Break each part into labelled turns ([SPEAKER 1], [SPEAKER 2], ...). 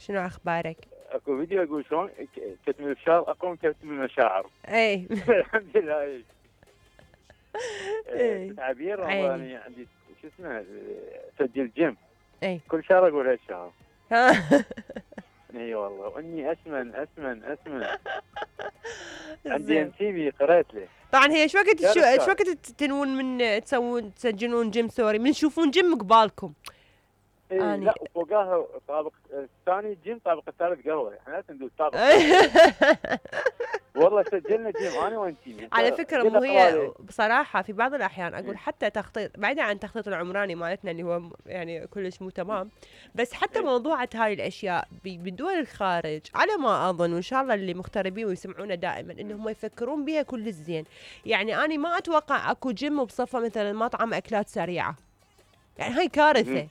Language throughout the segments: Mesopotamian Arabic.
[SPEAKER 1] شنو اخبارك؟
[SPEAKER 2] اكو فيديو يقول شلون كتم الفشار اقوى من كتم المشاعر.
[SPEAKER 1] اي
[SPEAKER 2] الحمد لله.
[SPEAKER 1] اي
[SPEAKER 2] تعبير
[SPEAKER 1] عيني.
[SPEAKER 2] انا عندي شو اسمه سجل جيم.
[SPEAKER 1] اي
[SPEAKER 2] كل شهر اقول هالشهر.
[SPEAKER 1] ها.
[SPEAKER 2] اي والله واني اسمن اسمن اسمن. عندي
[SPEAKER 1] زين.
[SPEAKER 2] ام تي في قريت له.
[SPEAKER 1] طبعا هي ايش وقت
[SPEAKER 2] شهر
[SPEAKER 1] ايش وقت تنون من تسجلون جيم سوري من تشوفون جيم قبالكم؟
[SPEAKER 2] إيه لا وفوقاها طابق الثاني جيم طابق الثالث قهوه احنا لازم ندوس طابق والله سجلنا جيم انا وانتي.
[SPEAKER 1] على فكره مو هي بصراحه في بعض الاحيان اقول حتى تخطيط بعيدا عن التخطيط العمراني مالتنا اللي هو يعني كلش مو تمام، بس حتى موضوعة هاي الاشياء بدول الخارج على ما اظن وان شاء الله اللي مغتربين ويسمعونا دائما انهم يفكرون بها كل الزين. يعني انا ما اتوقع اكو جيم بصفه مثلا مطعم اكلات سريعه، يعني هاي كارثه.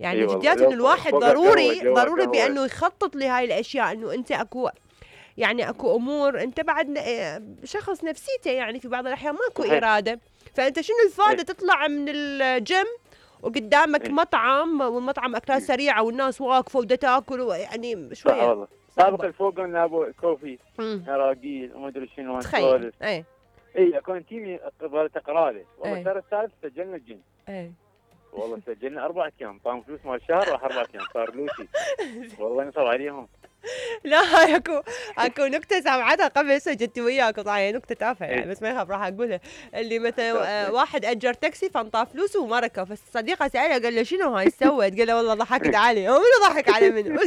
[SPEAKER 1] يعني جديات انه الواحد ضروري بانه يخطط لهاي الاشياء، انه انت اكو يعني اكو امور انت بعد شخص نفسيته يعني في بعض الاحيان ماكو اراده، فانت شنو الفائده تطلع من الجيم وقدامك مطعم والمطعم اكلات سريعه والناس واقفه ودا تاكل يعني شويه.
[SPEAKER 2] والله سابق الفوق قلنا ابو كوفي عراقيل وما ادري شنو
[SPEAKER 1] تخيل. اي
[SPEAKER 2] اكون تيمي قبل تقرا له والله الشهر الثالث سجلنا الجيم.
[SPEAKER 1] اي
[SPEAKER 2] والله سجلنا 4 ايام طام فلوس مال الشهر راح 4 ايام صار لوسي. والله نصب عليهم.
[SPEAKER 1] لا هاي اكو نكته سمعتها قبل سجلت وياكم طبعا نكته تافهه يعني بس ما يخاف راح اقولها. اللي مثلا واحد اجر تاكسي فانطاه فلوسه وما ركب، فالصديقه سالها قال له شنو هاي سوت؟ قال له والله ضحكت عليه. هو منو ضحك عليه منو؟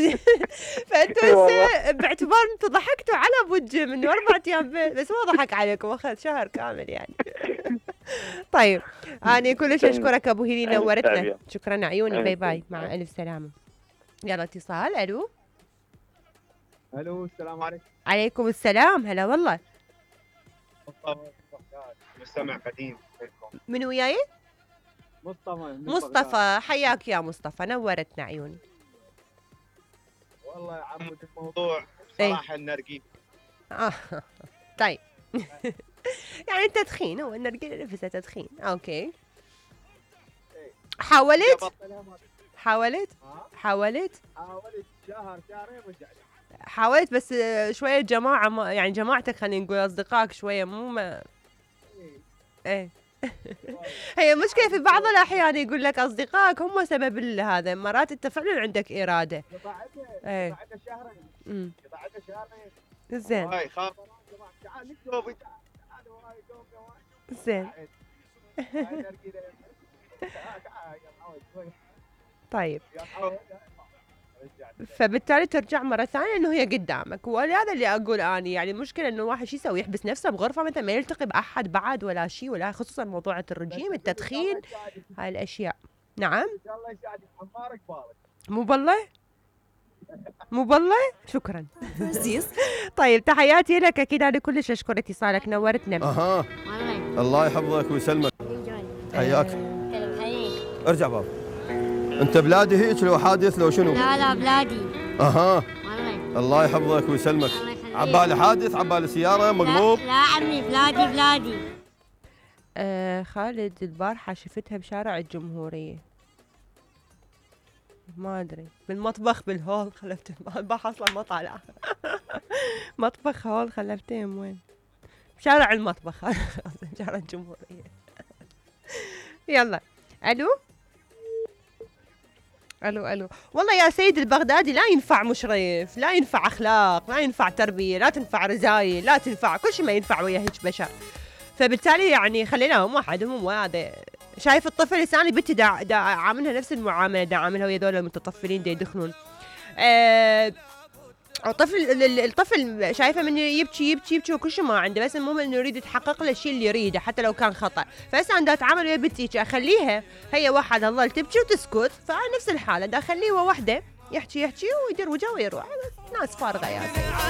[SPEAKER 1] فانتوا هسه باعتبار انتم ضحكتوا على ابو الجيم انه 4 ايام بس ما ضحك عليكم اخذ شهر كامل يعني. طيب انا كلش اشكرك ابو هيلي نورتنا. شكرا عيوني. باي باي مع الف سلامه. يلا اتصال. الو
[SPEAKER 3] السلام عليكم.
[SPEAKER 1] عليكم السلام. هلا والله.
[SPEAKER 3] مستمع قديم لكم.
[SPEAKER 1] من وياي؟ مصطفى. حياك يا مصطفى نورتنا عيوني.
[SPEAKER 3] والله يا عمود الموضوع بصراحه النرجيل.
[SPEAKER 1] طيب يعني التدخين هو النرجيل نفسه تدخين. اوكي حاولت شهرين رجعت. حاولت بس شويه جماعه يعني جماعتك خلينا نقول اصدقائك شويه مو ما ايه. هي مشكله في بعض الاحيان يقول لك اصدقائك هم سبب هذا، مرات انت فعلا عندك اراده. ايه شهرين. زين زين. طيب فبالتالي ترجع مرة ثانية انه هي قدامك، ولهذا اللي اقول اني يعني المشكلة انه الواحد شو يسوي؟ يحبس نفسه بغرفة مثلا ما يلتقي باحد بعد ولا شيء، ولا خصوصا موضوع الرجيم التدخين هاي الاشياء. نعم ان شاء الله يساعدك حمارك بارك. مو بالله شكرا. طيب تحياتي لك اكيد انا كلش اشكر اتصالك نورتنا.
[SPEAKER 4] الله يحفظك ويسلمك. حياك. ارجع بابا. انت بلادي هيك لو حادث لو شنو؟
[SPEAKER 5] لا بلادي.
[SPEAKER 4] الله يحفظك ويسلمك. عبالي حادث عبالي سيارة مقلوب.
[SPEAKER 5] لا عمي بلادي.
[SPEAKER 1] خالد البارحة شفتها بشارع الجمهورية، ما ادري بالمطبخ بالهول خلفت البارحة اصلا ما طالعة. مطبخ هول خلفتهم وين؟ بشارع المطبخ. شارع الجمهورية. يلا الو والله يا سيد البغدادي لا ينفع مشرف، لا ينفع اخلاق، لا ينفع تربيه، لا تنفع رزايل، لا تنفع كل شيء ما ينفع ويا هيك بشر. فبالتالي يعني خليناهم واحد هم هذا. شايف الطفل لساني بنتي دا عاملها نفس المعامله دا عاملها ويا ذول المتطفلين دا يدخنون. الطفل شايفه من يبكي وكل شيء ما عنده، بس المهم انه يريد يتحقق له الشيء اللي يريده حتى لو كان خطا. فهسه انا دا اتعامل ويا بنتي اخليها هي واحد تظل تبكي وتسكت، فانا نفس الحاله دا اخليه وحده يحكي ويدير وجهه ويروح. ناس فارغه يا سيدي.